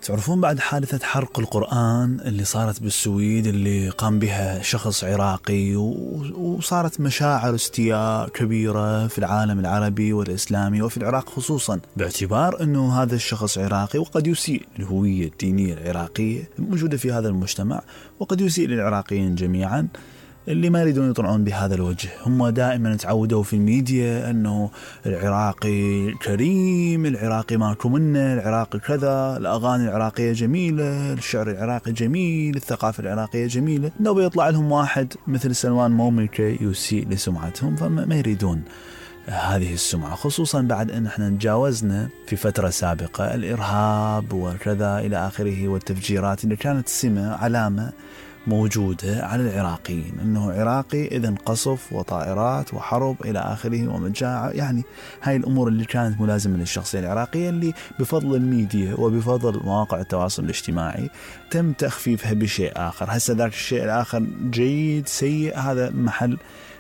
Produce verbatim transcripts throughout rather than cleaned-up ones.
تعرفون بعد حادثة حرق القرآن اللي صارت بالسويد اللي قام بها شخص عراقي وصارت مشاعر استياء كبيرة في العالم العربي والإسلامي وفي العراق خصوصا، باعتبار أنه هذا الشخص عراقي وقد يسيء الهوية الدينية العراقية الموجودة في هذا المجتمع، وقد يسيء للعراقيين جميعا اللي ما يريدون يطلعون بهذا الوجه. هم دائما تعودوا في الميديا أنه العراقي كريم، العراقي ماكو منه، العراقي كذا، الأغاني العراقية جميلة، الشعر العراقي جميل، الثقافة العراقية جميلة. لو بيطلع لهم واحد مثل سلمان موميكي يسيء لسمعتهم فما يريدون هذه السمعة، خصوصا بعد أن احنا تجاوزنا في فترة سابقة الإرهاب وكذا إلى آخره والتفجيرات اللي كانت سمة علامة موجودة على العراقيين أنه عراقي إذن قصف وطائرات وحرب إلى آخره ومجاعة. يعني هاي الأمور اللي كانت ملازمة للشخصية العراقية اللي بفضل الميديا وبفضل مواقع التواصل الاجتماعي تم تخفيفها بشيء آخر. هسه ذاك الشيء الآخر جيد سيء هذا محل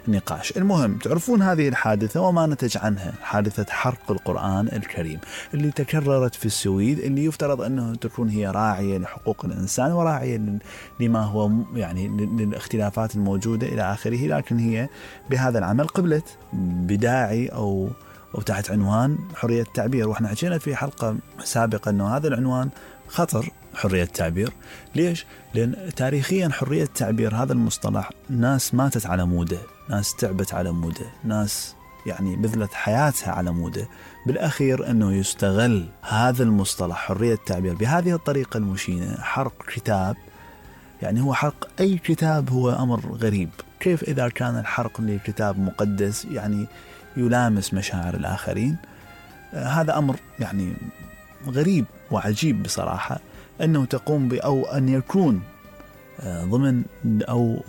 نقاش. المهم تعرفون هذه الحادثة وما نتج عنها، حادثة حرق القرآن الكريم اللي تكررت في السويد، اللي يفترض أنه تكون هي راعية لحقوق الإنسان وراعية لما هو يعني للاختلافات الموجودة إلى آخره، لكن هي بهذا العمل قبلت بداعي أو أو تحت عنوان حرية التعبير. وإحنا حكينا في حلقة سابقة أنه هذا العنوان خطر، حرية التعبير. ليش؟ لأن تاريخيا حرية التعبير هذا المصطلح ناس ماتت على موده، ناس تعبت على موده، ناس يعني بذلت حياتها على موده. بالأخير أنه يستغل هذا المصطلح حرية التعبير بهذه الطريقة المشينة، حرق كتاب. يعني هو حرق أي كتاب هو أمر غريب. كيف إذا كان الحرق لكتاب مقدس يعني يلامس مشاعر الآخرين؟ آه هذا أمر يعني غريب وعجيب بصراحة، أنه تقوم أو أن يكون ضمن أو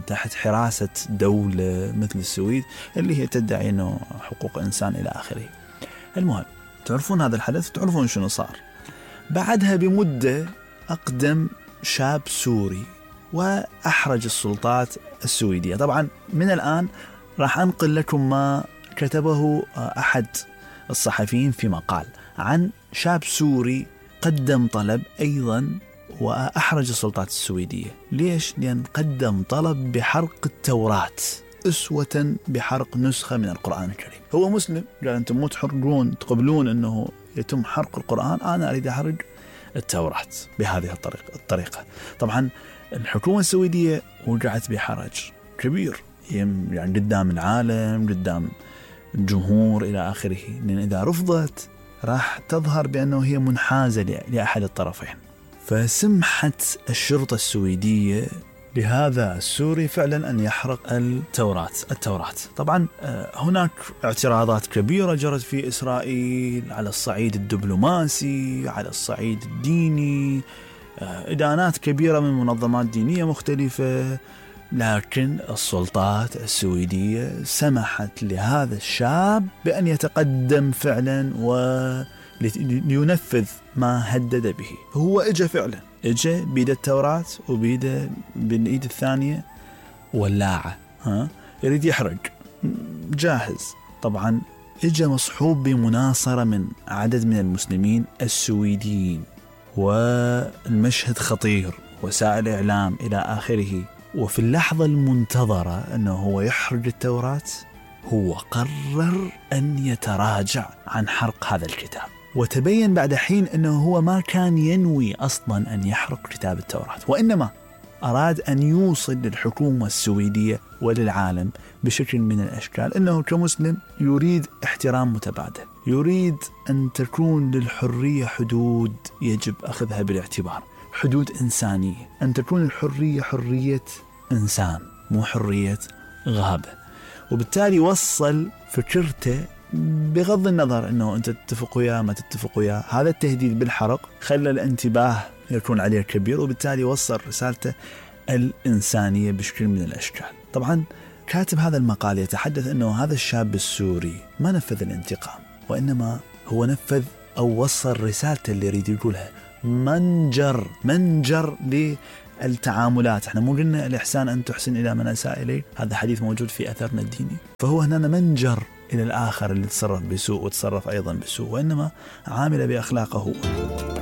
تحت حراسة دولة مثل السويد اللي هي تدعي أنه حقوق إنسان إلى آخره. المهم تعرفون هذا الحدث، تعرفون شنو صار بعدها بمدة. أقدم شاب سوري وأحرج السلطات السويدية. طبعا من الآن راح أنقل لكم ما كتبه أحد الصحفيين في مقال عن شاب سوري قدم طلب أيضا وأحرج السلطات السويدية. ليش؟ لأن قدم طلب بحرق التوراة أسوة بحرق نسخة من القرآن الكريم. هو مسلم، قال أنتم مو تحرقون تقبلون أنه يتم حرق القرآن، أنا أريد أحرق التوراة بهذه الطريقة الطريقة طبعا الحكومة السويدية وقعت بحرج كبير، يعني قدام العالم، قدام الجمهور إلى آخره، لأن إذا رفضت راح تظهر بأنه هي منحازة لأحد الطرفين. فسمحت الشرطة السويدية لهذا السوري فعلا أن يحرق التوراة التوراة طبعا هناك اعتراضات كبيرة جرت في إسرائيل على الصعيد الدبلوماسي، على الصعيد الديني، إدانات كبيرة من منظمات دينية مختلفة، لكن السلطات السويدية سمحت لهذا الشاب بأن يتقدم فعلا و لينفذ ما هدد به. هو اجى فعلا، اجى بيد التوراة وبيد بالايد الثانية ولاعة، ها يريد يحرق، جاهز. طبعا اجى مصحوب بمناصرة من عدد من المسلمين السويديين، والمشهد خطير، وسائل إعلام إلى آخره. وفي اللحظة المنتظرة أنه هو يحرق التوراة هو قرر أن يتراجع عن حرق هذا الكتاب. وتبين بعد حين أنه هو ما كان ينوي أصلا أن يحرق كتاب التوراة، وإنما أراد أن يوصل للحكومة السويدية وللعالم بشكل من الأشكال أنه كمسلم يريد احترام متبادل، يريد أن تكون للحرية حدود يجب أخذها بالاعتبار، حدود إنسانية، أن تكون الحرية حرية إنسان مو حرية غابة. وبالتالي وصل فكرته بغض النظر أنه أنت تتفق وياه ما تتفق وياه، هذا التهديد بالحرق خلى الانتباه يكون عليه كبير، وبالتالي وصل رسالته الإنسانية بشكل من الأشكال. طبعا كاتب هذا المقال يتحدث أنه هذا الشاب السوري ما نفذ الانتقام، وإنما هو نفذ أو وصل رسالته اللي يريد يقولها، منجر منجر للتعاملات. احنا مو قلنا الإحسان أن تحسن إلى من أساء إليه، هذا حديث موجود في أثرنا الديني. فهو هنا منجر إلى الآخر اللي تصرف بسوء وتصرف أيضا بسوء، وإنما عامل بأخلاقه.